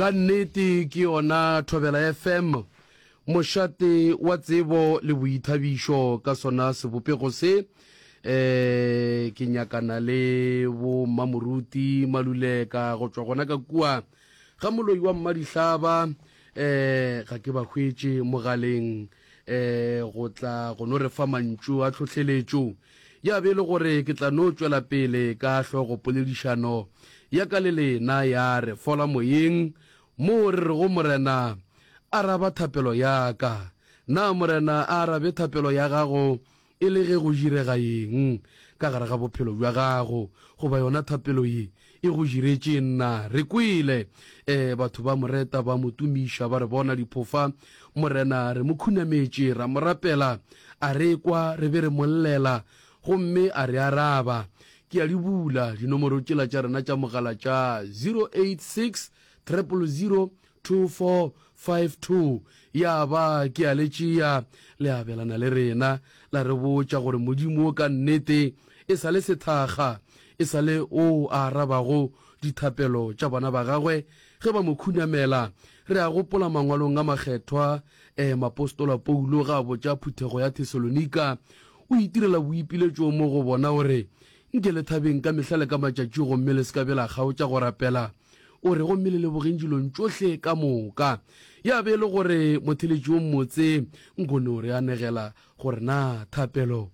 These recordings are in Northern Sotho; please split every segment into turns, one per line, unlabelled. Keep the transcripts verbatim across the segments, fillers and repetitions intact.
Ka nnete ke yona Thobela F M, mošate wa tsebo le boithabišo. Ka sona sebopego se, um ke nyakana le bo Mmamoruti Maluleka go tšwa gona ka kua ga moloi wa Mmadihlaba. um ga ke ba hwetše mogaleng um go tla go no re fa mantšu a tlhohleletšo. Ya be e le gore ke tla no tšwela pele ka hlogo poledišano ya ka le lena ya Re Fola Moyeng, moo re rego Morena araba thapelo ya ka. Na Morena a arabe thapelo ya gago e le ge go direga eng ka gare ga bophelo bja gago, goba yona thapelo ye e go diretše nna? Re kwele um batho ba moreta, ba mo tumiša, ba re bona diphofa Morena re mo khunametše, ra mo rapela, a re kwa, re be re mo llela gomme a re araba. Ke a di bula dinomoro tšela tša rena tša mogala tša zero eight six triple zero two four five two. Ya ba ke a le tšea, le abelana le rena, la re botša gore Modimo ka nnete e sa le sethakga, e sa le o a arabago dithapelo tša bana ba gagwe ge ba mo khunamela. Re a gopola mangwalong a makgethwa, um mapostola Paulo ga a botša phuthego ya Thesalonika, o itirela boipiletšo mo go bona gore nke le thabeng ka mehla le ka matšatši, gomme le se ka be la kgaotša go rapela. O re gomme le lebogeng dilong tšohle ka moka. Ya be e le gore motheletši o mmotse nkone o re anegela gore na thapelo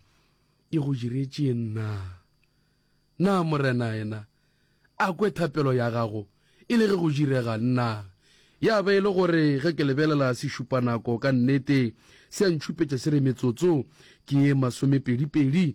e go diretše nna. Na Morena yena a kwe thapelo ya gago e le ge go direga nna? Ya be e le gore ge ke lebelela sešupanako, ka nnete se a ntšhupetša se re metsotso ke ye masomepedipedi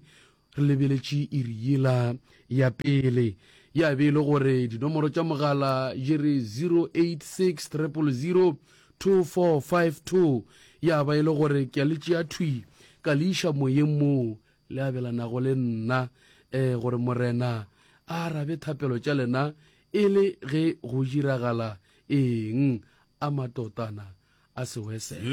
re lebeletše iri yela ya pele. Ya be e le gore dinomoro tša mogala di re zero eight six triple zero two four five two. Ya ba e le gore ke a le tšea thwi ka le iša moyeng moo le abelanago le nna um gore Morena a arabe thapelo tša lena e le ge go diragala eng. A matotana a sewesele.